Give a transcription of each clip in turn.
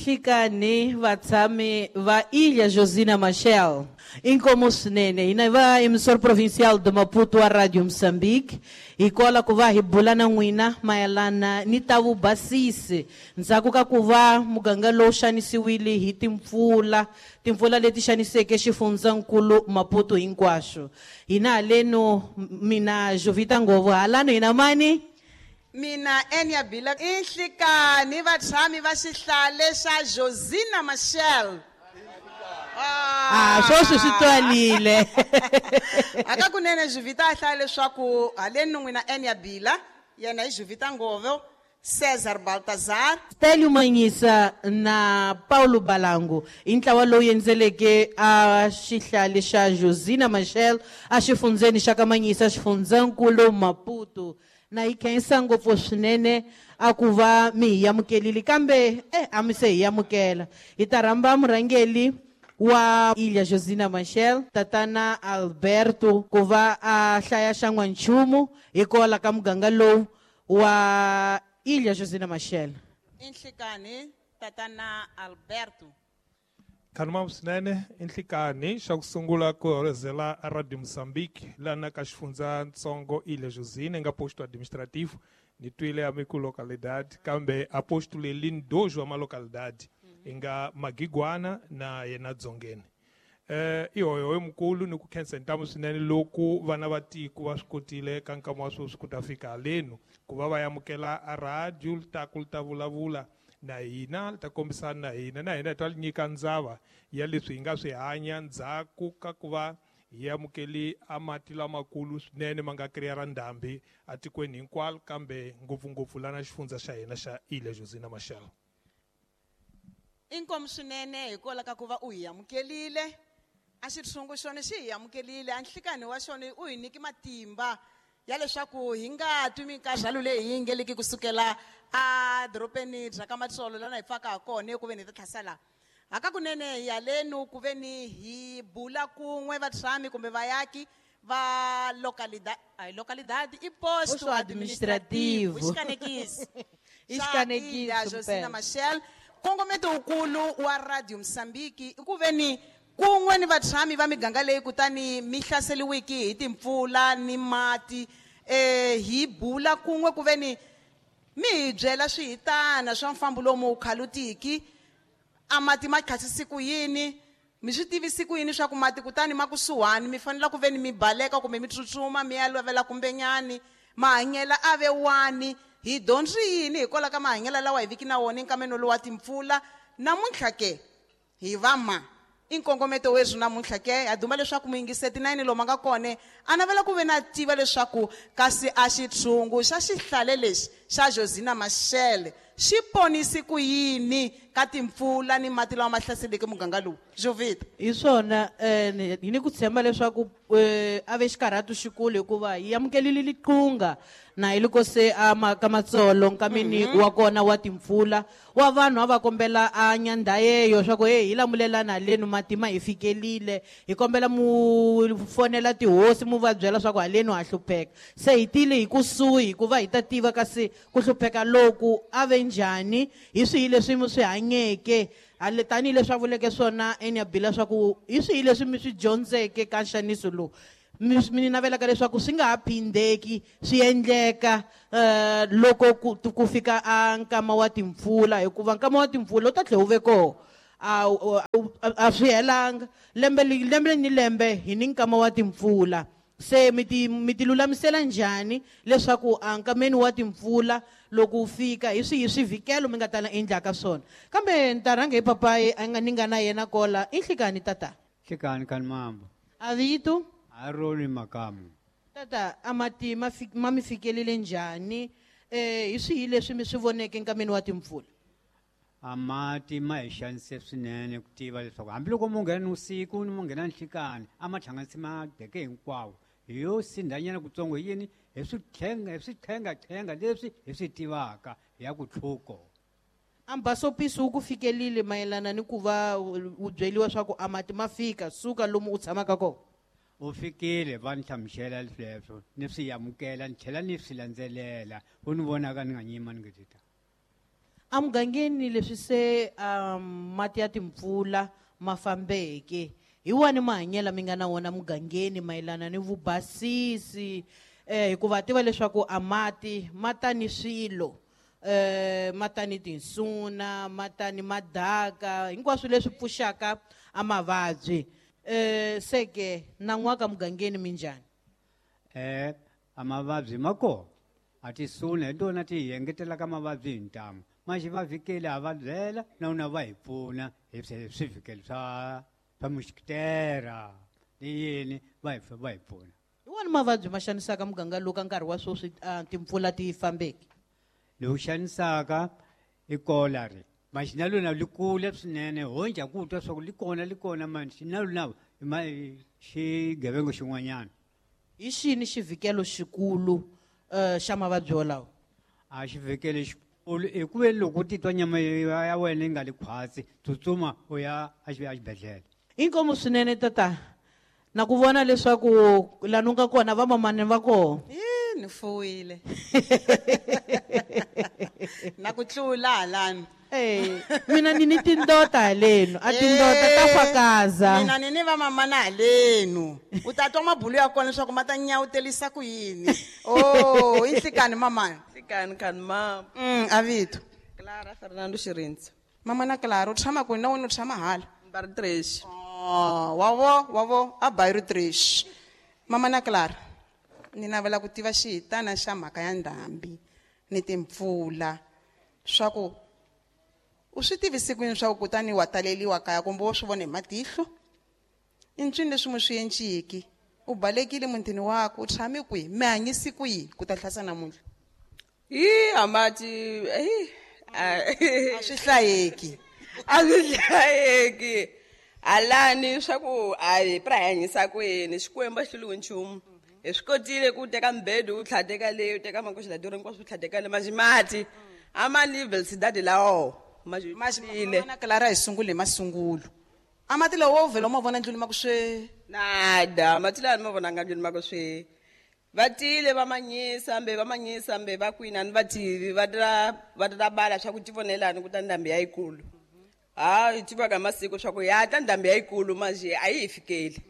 Nhlikani vatshami va Ilha Josina Machel. Inkomu swinene hina va emissor provincial de Maputo wa Radio Moçambique hi kola ku va hi bula na n'wina mayelana ni ta vubasisi ndzhaku ka ku va muganga lowu xanisiwile hi timpfula, timpfula leti xaniseke xifundzankulu Maputo hinkwaxo. Hina haleno mina Jovita Ngovo halano hina mani Mina Enya Bila i nhlikani vatshami va xihlale xa Josina Machel. Ah, sweswi swi twalile. Hakakunene Jovita a hlaya leswaku haleni n'wina Enya Bila yena i Jovita Ngovo, Cesar Baltazar, Stelio Manyisa na Paulo Balangu i ntlawa lowu endzeleke a xihlale xa Josina Machel a xifundzeni xa ka Manyisa xifundzankulu Maputo. Na hi khensa ngopfu swinene a ku va mi hi amukelile kambe a mi se hi amukela. Hi ta rhamba murhangeri wa Ilha Josina Machel tatana Alberto ku va a hlaya xa n'wanchumu hi kola ka muganga lowu wa Ilha Josina Machel. I nhlikani tatana Alberto. Khanuma swinene i nhlikani xa ku sungula ku hoyozela Radio Moçambique lana ka xifundzatsongo Ilha Josina nga posto administrativo ni twile a mi ku localidade kambe a posto lelini dois wa ma localidade i nga Magigwana na yena Dzongeni. I hoyohoyo mukulu ni ku khensa ntamu swinene loko vana va tiko va swi kotile ka nkama wa sweswi ku ta fika halenu ku va va amukela a radio li ta ku li ta vulavula na hina li ta kombisana na hina na hina hi ta li nyika ndzava ya leswi hi nga swi hanya ndzhaku ka ku va hi amukeli a mati lamakulu swinene ma nga kriya ra ndhambi atikweni hinkwalo kambe ngopfungopfu lana xifundza xa hina xa Ilha Josina Machel. Inkomu swinene hikwalaho ka ku va u hi amukelile. A xitshungu xona xi hi amukelile, a nhlikani wa xona u hi nyiki matimba ya leswaku hi nga twi minkarhalo leyi hi yingeliki kusukela a dorobeni bya ka Matsolo lana hi pfaka ha kona ku ve ni ta tlhasela. Hakakunene hi halenu ku ve ni hi bula kun'we vatshami kumbe vayaki va localidade, ai localidade i posto Posto administrativo. I xikanekisi. I Xa xikanekisi Ilha Josina mpela. Machel. Nkongometo wukulu wa Radio Moçambique i ku ve ni kun'we ni vatshami va miganga leyi kutani mi hlaseriwiki hi timpfula ni mati, hi bula kun'we ku ve ni mi hi byela swihitana swa mfambo lomu wu khalutiki, a mati ma khasisi ku yini, mi swi tivisi ku yini swa ku mati kutani ma kusuhani mi fanele ku ve ni mi baleka kumbe mi tsutsuma mi ya lovela kumbenyani, mahanyela a ve wani, hi dyondzi yini hikwalaho ka mahanyelo lawa hi viki na wona enkameni lowu wa timpfula. Namuntlha ke hi va ma i nkongometo weswi namuntlha ke ha duma leswaku muyingiseti na yini lomu a nga kona a navela ku ve na tiva leswaku kasi a xitshungu xa xihlale lexi xa Josina Machel xi ponisi ku yini ka timpfula ni mati lawa ma hlaseleke muganga lowu. Jovita. Hi swona, hi ni ku tshemba leswaku a ve xikarhatu xikulu hikuva hi amukelile liqunga na hi loko se a ma ka Matsolo nkameni wa kona wa timpfula wa vanhu a va kombela a nyandhayeyo swa ku hey hi lamulelana halenu mati ma hi fikelile, hi kombela mu fonela tihosi mu va byela swa ku halenu ha hlupheka. Se hi tile hi kusuhi hikuva hi ta tiva kasi ku hlupheka loku a ve njhani, hi swihi leswi mi swi hanyeke hale tanihileswi a vuleke swona Enya Bila swa ku hi swihi leswi mi swi dyondzeke ka nxaniso lowu mi navelaka leswaku swi nga ha phindeki swi endleka loko ku fika a nkama wa timpfula, hikuva nkama wa timpfula wu ta tlhela wu ve kona. A swi helanga lembe lembe ni lembe hi ni nkama wa timpfula. Se mi ti lulamisela njhani leswaku a nkameni wa timpfula loko wu fika hi swihi swivikelo mi nga ta endlaka swona? Kambe ni ta rhanga hi papayi a nga ni nga na yena kola. I nhlikani tata? Nhlikani kani mambo. A vito? Aroni Makamu. Tata, a mati ma mi fikelele njhani? Hi swihi leswi mi swi voneke nkameni wa timpfula? A mati ma hi xanise swinene ku tiva leswaku hambiloko mo nghena nivusiku ni mo nghena nhlikani a ma hlanganisi madeke hinkwawo. Hi yo sindhanyana kutsongo hi yini? Hi switlhengatlhenga leswi hi swi tivaka hi ya ku tlhuko. A mbasopisi wu ku fikelile mayelana ni ku va u byeriwa swa ku a mati ma fika suka lomu u tshamaka kona? U fikile va ni hlamusela leswo ni swi amukela ni tlhela ni swi landzelela u ni vonaka ni nga nyima ni nge ti ta. Amugangeni leswi se mati ya timpfula ma fambeke hi wani mahanyelo mi nga na wona mugangeni mayelana ni vubasisi hikuva tiva leswaku a mati ma ta ni swilo ma ta ni tinsuna ma ta ni madaka hinkwaswo leswi pfuxaka a mavabyi seke nan'waka mugangeni minjhani? A mavabyi ma kona a tisuna hi tona ti hi engetelaka mavabyi hi ntamu maxi va vhikeli a va byela na wona va hi pfuna hi swivikelo swa muxikitera ni yini va hi pfuna. Hi wani mavabyi ma xanisaka muganga lowu ka nkarhi wa sweswi timpfula ti fambeke? Lowu xanisaka i kolari maxi na lona li kule swinene honja ku twa swa ku li kona maxi na lona xigevenga xin'wanyana. Hi xini xivikelo xikulu xa mavabyi wolawo? A xivikelo xikulu i ku ve loko u titwa nyama ya wena yi nga li khwatsi tsutsuma u ya exibedhlele. Inkomu swinene tata na ku vona leswaku laha u nga kona vamamani va kona. Ni fuwile. Na ku tlula halani. Mina ni ni tindota halenu a tindota ta fakaza. Mina ni ni vamamana halenu. U ta twa mabulu ya kona leswaku ma ta nyawutelisa ku yini. Oh, i nhlikani mamana? Nhlikani kani mama. A vito. Clara Fernando Xirindza. Mama na Clara u tshama kwini na wena u tshama hala? Mbari Tresh. Oh, wavo a Bayru Tresh. Mama na Clara ni navela ku tiva xihitana xa mhaka ya ndhambi ni timpfula swa ku u swi tivisi kwini swa ku kutani wa taleliwa kaya kumbe wo swi vona hi matihlo i ncini leswi mu swi enciki u balekile mutini wakwe u tshame kwihi mi hanyisi kwihi ku ta hlasa namuntlha? Hi amati a swi hlayeki. A swi hlayeki alani swa ku a hi pra hanyisa kwini Xikwembu a xi hluriwi nchumu. Hi swi kotile ku teka mbedu u tlhateka leyi u teka makoxi la durha hinkwaswo u tlhateka le maxi mati a ma level sidadi lawo maxile. Na Clara hi sungule hi masungulo a mati lawo wo vhela u ma vona ndlwini ma ku swe nada mati lawa ni ma vonanga ndlwini ma ku swe va tile va manyisa mbe va kwini a ni va tivi va ta bala swa ku tivonelani ku ta ndhambi ya yikulu. Ha hi tivaka hi masiku swa ku ya ta ndhambi ya yikulu maxi a yi hi fikeli.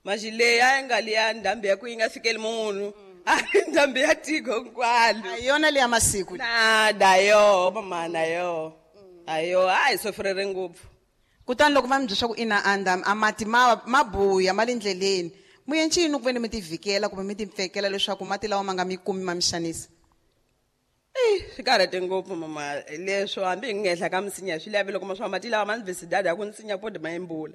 Maxi leyi a yi nga liya ndhambi ya ku yi nga fikeli munhu a ndhambi ya tiko hinkwalo. A yona leya masiku. Nada yo mamana yo ayo a hi sofrere ngopfu. Kutani loko va mi byela swa ku ina a ndhambi a mati ma buya ma le ndleleni mu encini ku ve ni mi tivikela kumbe mi timpfekela leswaku mati lawa ma nga mi kumi ma mi xanisa? Swi karhate ngopfu mama leswo hambi hi nga henhla ka misinya swi lavi loko ma swa mati lawa ma ni visidada ya ku nsinya podi ma yimbula.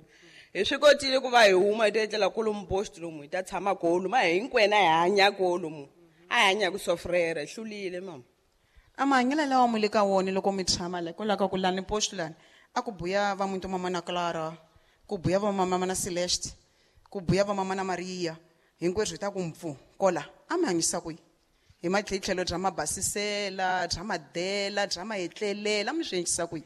Hi swi kotile ku va hi huma hi ta etlela kolomu post lomu hi ta tshama kolomu a hinkwena hi hanya kolomu a hi hanya ku sofrera hi hlulile mama. A mahanyelo lawa mu le ka wona loko mi tshama la hikwalaho ka ku lani post lani a ku buya va muntu mama na Clara ku buya va mama na Celeste ku buya va mama na Maria hinkwerhu hi ta ku mpfu kola a mi hanyisa kwihi hi matlhelo bya mabasisela bya madela bya maetlelela mi swi endlisa kwihi?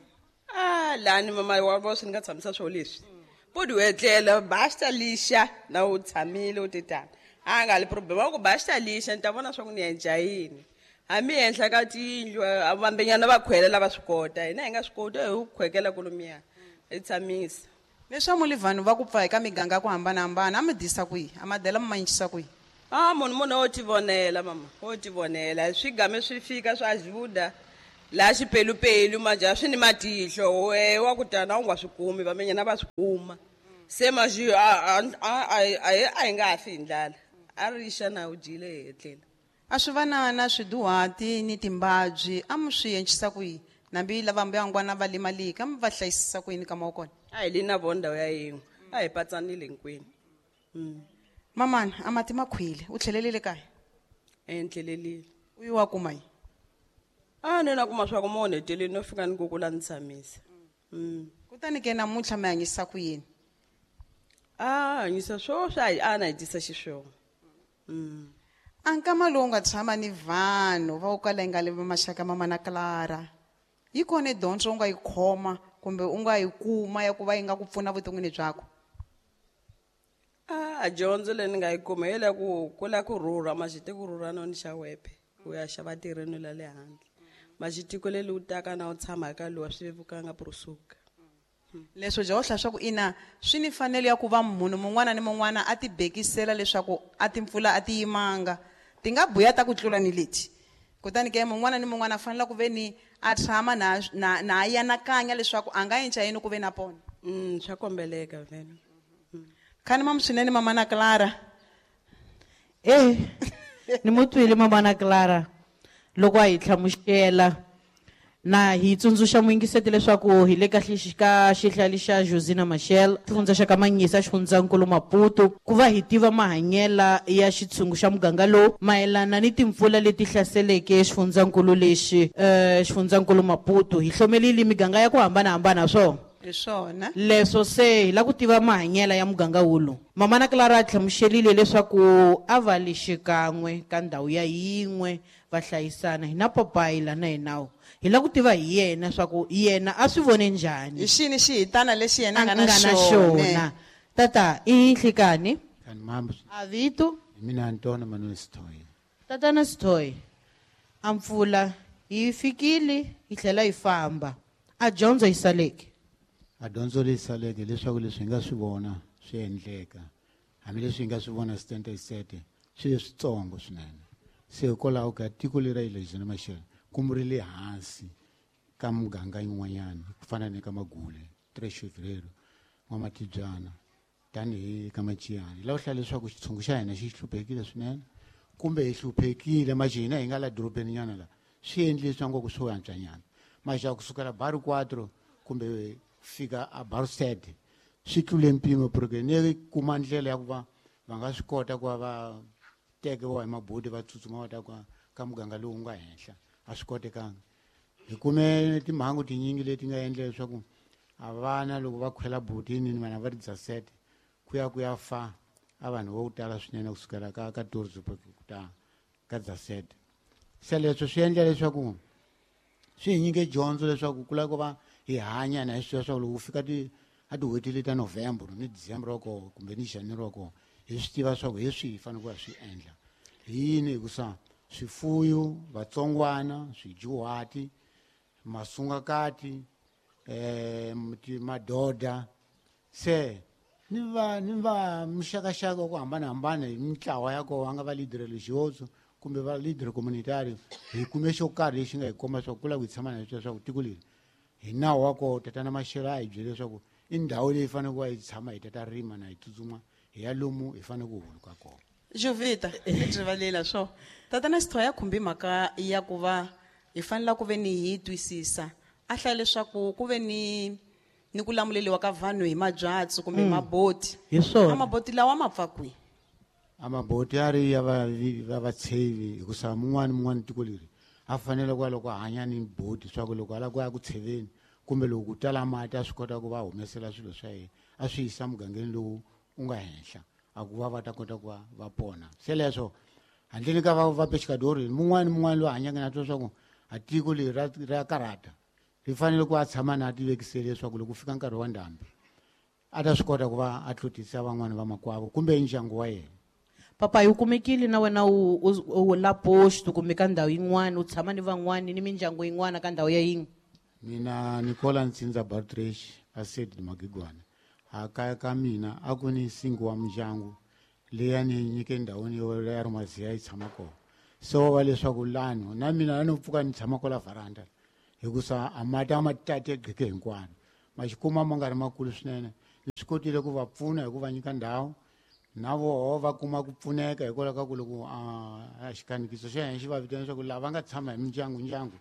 A lani mama wa vo swi ni nga tshamisa swo leswi podi u etlela basta lixa na u tshamile u titana a nga li problem wa ku basta lixa ni ta vona swa ku ni endla yini hambi henhla ka tiyindlu vambenyana va khwela lava swi kota hina hi nga swi koti hi ku khwekela kolomiya hi tshamisa. Leswi mu li vanhu va ku pfa eka miganga ya ku hambanahambana a mi disa kwihi a madela mi ma encisa kwihi? A munhu wo tivonela mama wo tivonela swi game swi fika swa ajuda laha xipelupelu maja swi ni matihlo we wa ku tana u nga swi kumi vamenyana va swi kuma se maxi a hi nga ha fi hi ndlala a rixa na u dyile hi etlela. A swi va na swiduhati ni timbabyi a mi swi encisa kwihi nambi lava mbuyangwana va limaliki a mi va hlayisisa ku yini ka ma kona? A hi li na vona ndhawu ya yin'we a hi patsanile hinkwenu. Mamana a mati ma khwile u tlhelelile kaya? Endlelelile. U yi wa kuma yi? A ni na kuma swa ku mo heteleni no fika ni ku kula ni tshamisa. Kutani ke namuntlha mi hanyisa ku yini? A hanyisa swo swa a na hi tisa xiswona. A nkama lowu nga tshama ni vanhu va ku kala yi nga le maxaka mama na Clara yi kona dyondzo u nga yi khoma kumbe u nga yi kuma ya ku va yi nga ku pfuna vuton'wini byakho? A dyondzo leyi ni nga yi kuma hi le ku kula ku rhurha maxite ku rhurha no ni xa wepe ku ya xava tirheni la le handle. Maxitiko leli wu taka na u tshama ka lowa swi vevukanga purusuka. Leswo jaohla swa ku ina swi ni fanelo ya ku va munhu mun'wana ni mun'wana a ti bekisela leswaku a timpfula a ti yimanga ti nga buya ta ku tlula ni leti. Kutani ke mun'wana ni mun'wana a fanele ku ve ni a tshama na a yanakanya leswaku a nga endla yini ku ve na pona. Swa kombeleka vhele. Khani mamu swinene mama na Clara. Ni mu twile mama na Clara loko a hi hlamusela na hi tsundzuxa muyingiseti leswaku hi le ka ka xihlali xa Josina Machel, xifundza xa ka Manhiça, xifundzankulu Maputo, ku va hi tiva mahanyela ya xitshungu xa muganga lowu mayelana ni timpfula leti hlaseleke xifundzankulu lexi, xifundzankulu Maputo. Hi hlomelile miganga ya ku hambanahambana swona. Hi swona. Leswo se hi lava ku tiva mahanyela ya muganga wulu. Mama na Clara a hlamuserile leswaku a va le xikan'we ka ndhawu ya yin'we va hlayisana. Hi na papayi la na yena hi lava ku tiva hi yena swa ku yena a swi vone njhani. Hi xini xihitana lexi yena a nga na A nga na xona? xona. Tata, i nhlikani? Kani mambo. A vito? Hi mina Antonio Manuel Sithoyi. Tatana Sithoyi, a mpfula yi fikile yi tlhela yi famba. A dyondzo yi saleke. A dyondzo leyi saleke leswaku leswi hi nga swi vona swi endleka. Hambileswi hi nga swi vona sitente sete, swi leswitsongo swinene. Se hikwalaho ka tiko leri ra Josina Machel ku ri le hansi ka muganga yin'wanyana ku fana ni ka Magule, Tres Fevereiro, N'wamatibyana, tanihi ka Machiyani. Hi lava ku hlaya leswaku xitshungu xa hina xi hluphekile swinene kumbe hi hluphekile maxi hina hi nga la dorobeni nyana la swi endlile swa ngopfu swo antswanyana. Maxi ya kusukela Bairro Quatro kumbe fika a Bairro Sete swi tlule mpimo porque ni kuma ndlela ya ku va va nga swi kota ku va va tekiwa hi maboti va tsutsuma va ta ka muganga lowu nga henhla. A swi kotekanga. Hi kume timhangu tinyingi leti nga endla leswaku a vana loko va khwela botini ni vana va ri dzasete ku ya ku ya fa a vanhu vo tala swinene kusukela ka Torzo ku ta ka dzasete. Se leswo swi endla leswaku swi hi nyike dyondzo leswaku ku lava ku va hi hanya na hi swi tiva leswaku loko ku fika a tin'hweti leti ta November ni December wa kona kumbe ni January wa kona hi swi tiva leswaku hi swihi hi fanele ku ya swi endla. Hi yini hikusa swifuyo, vatsongwana, swidyuhati, masungakati, madoda, se ni va muxakaxaka wa ku hambanahambana hi mintlawa ya kona, va nga va leader religioso kumbe va leader communitario, hi kume xo karhi lexi nga hi komba leswaku ku lava ku hi tshama na leswaku tiko leri hi nawu wa kona tatana Machel a hi byele leswaku i ndhawu leyi faneleke ku va hi tshama hi tata rima na hi tsutsuma hi ya lomu hi fanele ku huluka kona. Jovita, ni rivalela swo. Tatana Sithoyi ya khumbi mhaka ya ku va hi fanele ku ve ni hi twisisa. A hlaya leswaku ku ve ni ku lamuleliwa ka vanhu hi mabyatso kumbe maboti. Hi swona. A maboti lawa ma pfa kwihi? A maboti ya ri ya va vatshevi hikusa mun'wana ni mun'wana tiko leri a fanele ku va loko a hanya ni boti swa ku loko a lava ku ya ku tsheveni kumbe loko ku tala mati a swi kota ku va humesela swilo swa yena a swi yisa mugangeni lowu u nga henhla a ku va va ta kota ku va va pona. Se leswo handleni ka va pescador mun'wana ni mun'wana loyi a hanyaka na twa leswaku a tiko leri ra karhata ri fanele ku a tshama na a tivekisele leswaku loko ku fika nkarhi wa ndhambi a ta swi kota ku va a tlutisa van'wani va makwavo kumbe ndyangu wa yena. Papa, u kumekile na wena u la posto kumbe ka ndhawu yin'wana u tshama ni van'wani ni mindyangu yin'wana ka ndhawu ya yin'we? Mina Nicola Ntsinza Bartresh a Sedi Magigwana. A kaya ka mina a ku ni nsingo wa mindyangu leyi a ni nyike ndhawini yo ya Rumaziya yi tshama kona. Se wa va leswaku lano na mina a no pfuka ni tshama kwala varanda hikusa a mati a ma tate gqeke hinkwano. Ma xi kuma ma nga ri makulu swinene. Ni swi kotile ku va pfuna hi ku va nyika ndhawu na voho va kuma ku pfuneka hikwalaho ka ku loko a xikanikiso xa hina xi va vitana leswaku lava nga tshama hi mindyangu ndyangu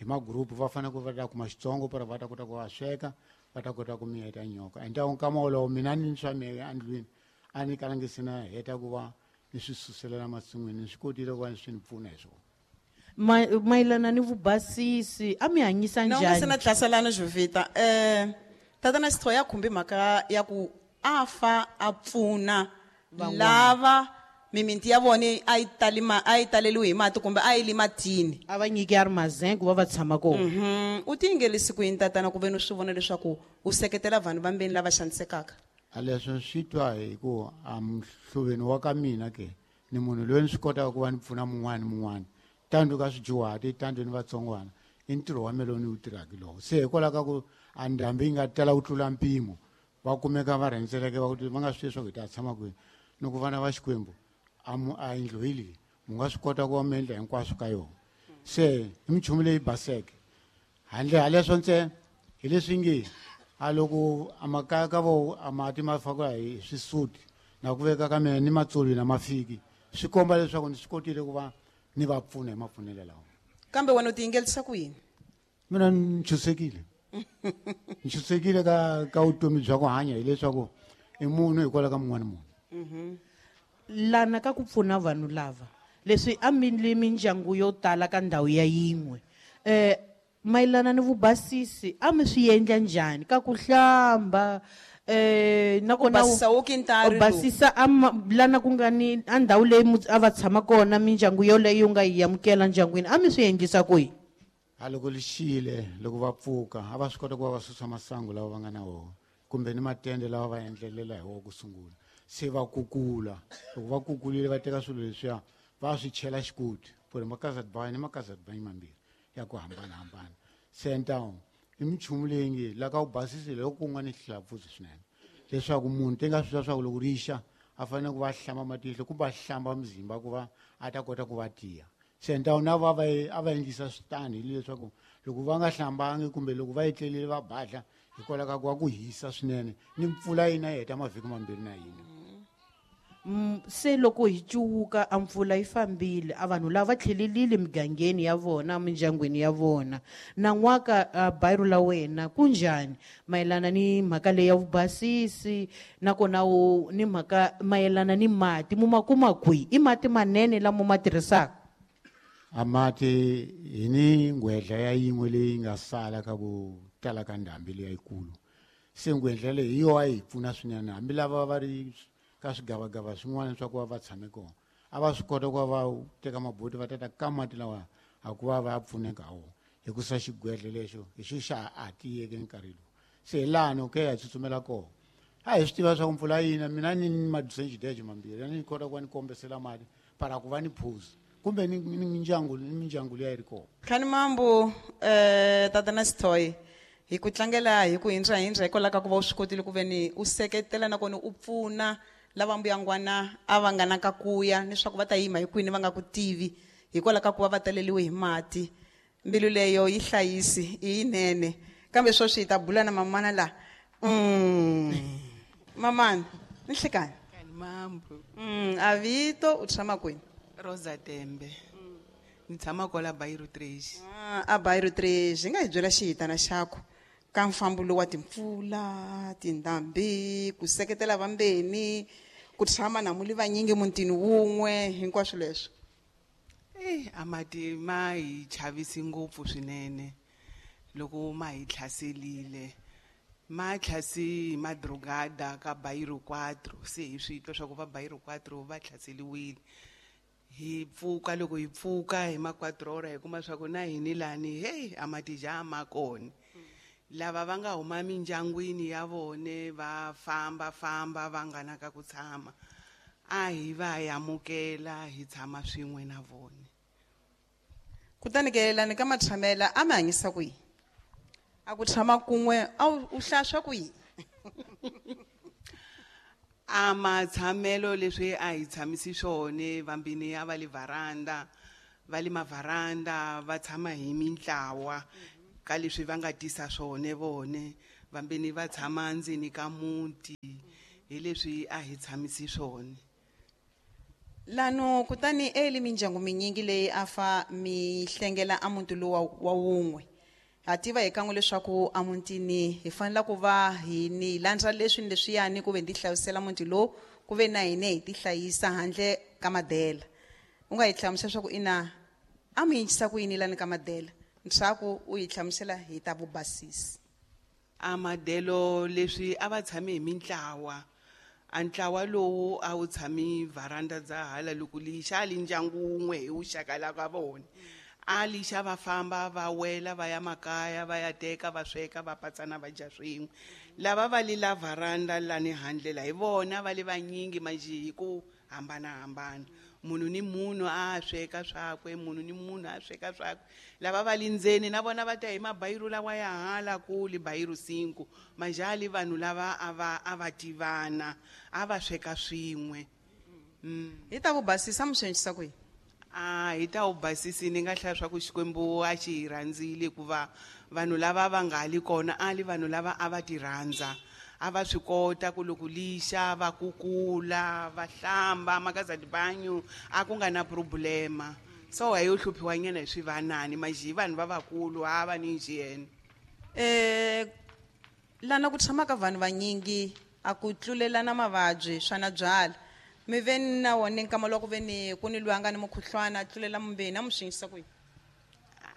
hi magrupu va fanele ku va ta kuma xitsongo para va ta kota ku va sweka va ta kota ku miyeta nyoka. Ende nkama wolowo mina ni swa mehe endlwini a ni kalangi se na heta ku va ni swi suselela masin'wini, ni swi kotile ku va ni swi ni pfuna hi swona. Mayelana ni vubasisi a mi hanyisa Na u nga se njhani? na tlaselana, Jovita. Tatana Sithoyi ya khumbi mhaka ya ku a fa a pfuna Van'wana. lava mimiti ya vona a yi tali ma, a yi taleliwi hi mati kumbe a yi li matini. A va nyiki armazém ku va va tshama kona. U ti yingelisi ku yini tatana ku ve ni swi vona leswaku u seketela vanhu va mbeni lava xanisekaka? A leswi swi twa hi ku a muhluveni wa ka mina ke ni munhu loyi ni swi kotaka ku va ni pfuna mun'wana ni mun'wana tando ka swidyuhati tando ni vatsongwana I ntirho wa me lowu ni wu tirhaka lowo. Se hikwalaho ka ku a ndhambi yi nga tala ku tlula mpimo, va kumeka va rhendzeleke va ku va nga swi tivi leswaku hi ta tshama kwini. Ni ku vana va Xikwembu, a yindlu hi leyi, mu nga swi kota ku va mi endla hinkwaswo ka yona. Se i minchumu leyi baseke. Handle ha leswo ntsena, hi leswi nge a loko a makaya ka vo a mati ma fakiwa hi swisuti na ku veka ka mina ni matsolo na mafiki, swi komba leswaku ni swi kotile ku va ni va pfuna hi mapfunelo lawa. Kambe wena u ti yingelisa ku yini? Mina ni ntshunxekile. Ni ntshunxekile ka vutomi bya ku hanya hileswaku i munhu hikwalaho ka mun'wana munhu. Lana ka ku pfuna vanhu lava, leswi a mi li mindyangu yo tala ka ndhawu ya yin'we, mayelana ni vubasisi a mi swi endla njhani ka ku hlamba, nakona U basisa wo kintari u basisa a ma, lana ku nga ni a ndhawu leyi a va tshama kona mindyangu yoleyo yi nga yi amukela ndyangwini, a mi swi endlisa kwihi? A loko li xile, loko va pfuka, a va swi kota ku va va susa masangu lawa va nga na wona, kumbe ni matende lawa va endlelela hi wona ku sungula. Se va kukula, loko va kukulile va teka swilo leswiya va swi chela xikoti, ku ri makazatibani ni makazatibani mambirhi ya ku hambanahambana. Se ntawu i minchumu leyi nge la ka u basisile loko ku nga ni xihlawupfuzi swinene, leswaku munhu te nga swi tiva leswaku loko ri xa a fanele ku va hlamba matihlo kumbe a hlamba muzimba ku va a ta kota ku va tiya. Se ntawu na va va a va endlisa switani hileswaku loko va nga hlambangi kumbe loko va etlelile va badla hikwalaho ka ku va ku hisa swinene ni mpfula yi na yi heta mavhiki mambirhi na yin'we. Se loko hi cuwuka a mpfula yi fambile, a vanhu lava va tlhelelile migangeni ya vona, mindyangwini ya vona. Nan'waka, a bairo la wena ku njhani mayelana ni mhaka leyi ya vubasisi, nakona ni mhaka mayelana ni mati, mu ma kuma kwihi? I mati manene lama mu ma tirhisaka? A mati hi ni nghwedla ya yin'we leyi nga sala ka ku tala ka ndhambi leyi yikulu. Se nghwedla leyi hi yona yi hi pfuna swinene, hambi lava va ri ka swigavagava swin'wana swa ku va va tshame kona, a va swi kota ku va va teka maboti va tata ka mati lawa a ku va va ya pfuneka ha wona, hikusa xigwedle lexo hi xo xa ha tiyeke nkarhi lowu. Se hi laha ni okay, hi tsutsumela kona. A hi swi tiva swa ku mpfula yi na, mina ni madusenjideje mambirhi, a ni kota ku va ni kombesela mati para ku va ni phuza kumbe ni mindyangu, ni mindyangu leyi a yi ri kona. Khani mambu, tatana Sithole, hi ku tlangela hi ku hindza hindza hikwalaho ka ku va u swi kotile ku ve ni u seketela nakona u pfuna lava mbuyangwana a va nga na ka kuya, leswaku va ta yima hi kwini va nga ku tivi hikwalaho ka ku va va taleliwe hi mati. Mbilu leyo yi hlayisi, i yinene. Kambe sweswi hi ta bula na mamana la. Mamana, ni hlekani? Mambu. A vito u tshama kwini? Rosa Tembe. Ni tshama kwala Bairro 3. A Bairro 3, hi nga hi byela xihitana xakho ka mfambo lowu wa timpfula, tindhambi, ku seketela vambeni, ku tshama na muli vanyingi mutini wun'we, hinkwaswo leswi. A mati ma hi chavisi ngopfu swinene loko ma hi tlhaselile. Ma tlhasi madrugada ka Bairro 4, se hi swi twa swa ku va Bairro 4 va tlhaseliwile. Hi pfuka, loko hi pfuka hi ma 4 hora hi kuma swa ku na hini lani, hey, a mati ja ma kona. Lava va nga huma mindyangwini ya vone va famba famba va nga na ka ku tshama, a hi va amukela hi tshama swin'we na vone. Kutani ke lani ka matshamela a mi hanyisa ku yini? A ku tshama kun'we a u hlaswa ku yini? A matshamelo leswi a hi tshamisi swona, vambini a va le varanda, va le mavaranda va tshama hi mintlawa ka leswi va nga tisa swona vone, vambini va tshama ndzeni ka muti, hi leswi a hi tshamisi swona. Lano kutani eli mindyangu minyingi leyi a fa mi hlengela a muti lowu wa wun'we. Ha tiva hi kan'we leswaku a mutini hi fanele ku va hi ni landza leswi ni leswiyani ku ve ni tihlayisela muti lowu, ku ve na hina hi tihlayisa handle ka madela. U nga hi hlamusela leswaku ina a mi yingisisa ku yini lani ka madela, ntshaku u hi hlamusela hi ta vubasisi. A madelo leswi a va tshame hi mintlawa, a ntlawa lowu a wu tshami varanda dza hala loko li xa li ndyangu wun'we hi wuxaka la ka vona. A li xa va famba va wela va ya makaya va ya teka va sweka va patsana va dya swin'we. Lava va li la varanda lani handle la hi vona va le vanyingi manjhe hi ku hambanahambana. Munhu ni munhu a sweka swakwe, munhu ni munhu a sweka swakwe. Lava va le ndzeni na vona va ta hi mabayiru lawa ya hala kule bayiru 5. Majali vanhu lava a va tivana, a va sweka swin'we. Hi ta ku basisa mi swi endlisa ku yini? A hi ta wu basisi ni nga hlaya swa ku Xikwembu a xi hi rhandzile hikuva vanhu lava va nga li kona a li vanhu lava a va ti rhandza. A va swi kota ku loko lixa va kukula va hlamba makazadibanyu a ku nga na problema. So a yo hluphiwa nyana hi swivanani maji vanhu va vakulu a va ni njheni. Lana ku tshama ka vanhu vanyingi a ku tlulelana mavabyi swa na byala. Mi ve na wona nkama loko ve ni ku ni lwanga ni mukhuhlwana tlulela mumbeni a mi swi yisa kwihi?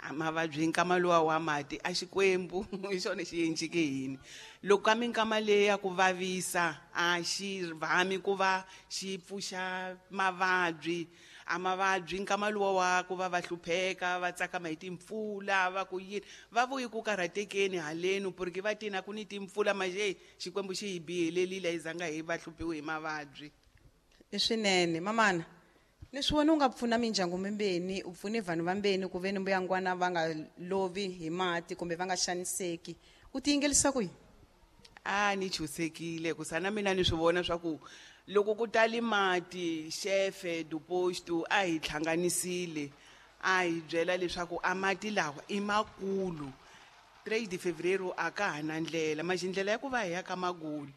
A mavabyi nkama luwa wa mati a Xikwembu hi xona xi endleke yini. Loko ka minkama leyi ya ku vavisa a xi vhami ku va xi pfuxa mavabyi. A mavabyi nkama luwa wa ku va va hlupheka va tsakama hi timpfula va ku yini va vuyi ku karhatekeni haleni porque va tina ku ni timpfula maje Xikwembu xi hi bihelelile hi zanga hi va hluphiwe hi mavabyi. I swinene mamana leswi wena u nga pfuna mindyangu mimbeni u pfune vanhu vambeni ku ve ni mbuyangwana va nga lovi hi mati kumbe va nga xaniseki u tiyingelisa ku yini? A ni chusekile ku sana mina ni swi vona swa ku loko ku tali mati xefe du posto a hi hlanganisile a hi byela leswaku a mati lawa i makulu 3 de fevereiro a ka ha na ndlela maji ndlela ya ku va hi ya ka Maguli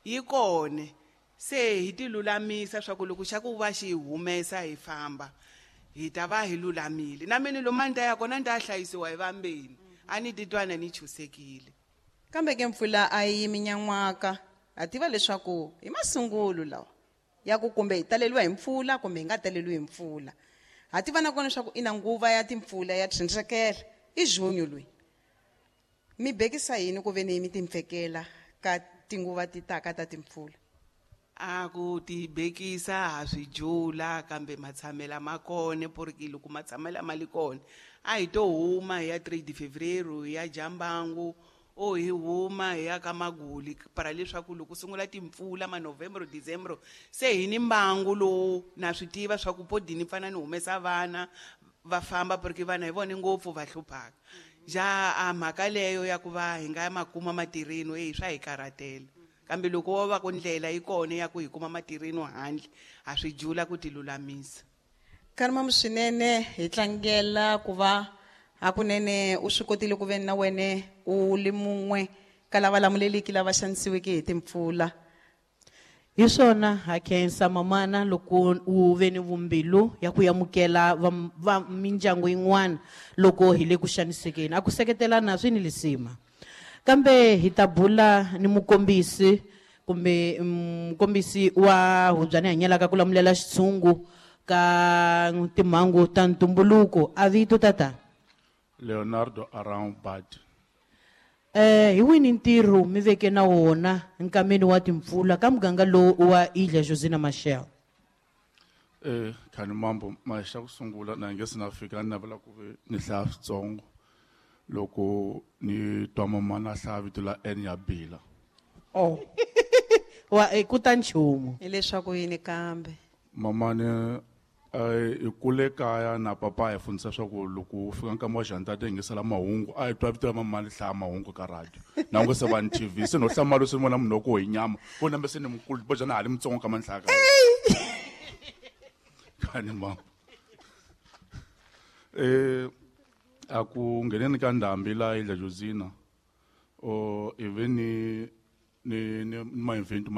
yi kona. Se hi ti lulamisa swa ku loko xa ku va xi humesa hi famba hi ta va hi lulamile. Na mina lomu a ni ta ya kona ni ta hlayisiwa hi vambeni a ni titwana ni chusekile. Kambe ke mpfula a yi yimi nyan'waka ha tiva leswaku hi masungulo lawa ya ku kumbe hi taleliwa hi mpfula kumbe hi nga taleliwi hi mpfula. Ha tiva na kona leswaku i na nguva ya timpfula ya tshindrekela i junyo loyi. Mi bekisa yini ku ve ni mi timpfekela ka tinguva ti taka ta timpfula? A ku tibekisa ha swi jula kambe matshamela ma kona porque loko matshamela ma li kona a hi to huma hi ya 3 de fevereiro hi ya Jambangu o hi huma hi ya ka Maguli para leswaku loko sungula timpfula ma November December se hi ni mbangu lowu na swi tiva swa ku podini pfana ni humesa vana va famba porque vana hi vona ngopfu va hluphaka. Ja a mhaka leyo ya ku va hi nga makuma matirheni ei swa hi karhatela. Kambe loko wo va ku ndlela yi kona ya ku hi kuma matirheni handle ha swi jula ku ti lulamisa. Karima swinene hi tlangela ku va hakunene u swi kotile ku ve na wene u li mun'we ka lava lamuleliki lava xanisiweke hi timpfula. Hi swona ha khensa mamana loko u ve ni vumbilu ya ku amukela va mindyangu yin'wana loko hi le ku xanisekeni. A ku seketelana swi ni lisima. Kambe hi ta bula ni mukombisi kumbe mukombisi wa Hubyani hanyelaka ku lamulela xitshungu ka timhangu ta ntumbuluko. A vito tata? Leonardo Around Bad. Hi wini ntirho mi veke na wona nkameni wa timpfula ka muganga lowu wa Ilha Josina Machel? Khani mambo maxa ku sungula na nge se na fika ni navela ku ve ni hlaya switsongo loko ni twa mamana hlaya vito la N ya Bila. Oh. Wa ku ta nchumu. Hileswaku yini kambe? Mamane hi kule kaya na papa hi fundisa swa ku loko u fika nkama wa janta ti yingisela mahungu a hi twa vito ra mamana hlaya mahungu ka radio. Na ngo se va ni TV se no hlamala se ni vona munhu wa ku hi nyama ko nambe se ni mukulu bo jana ha li mutsongo ka manhlaka. Khani mama. A ku ngheneni ka ndhambi la Ilha Josina o ivi ni ni ma invento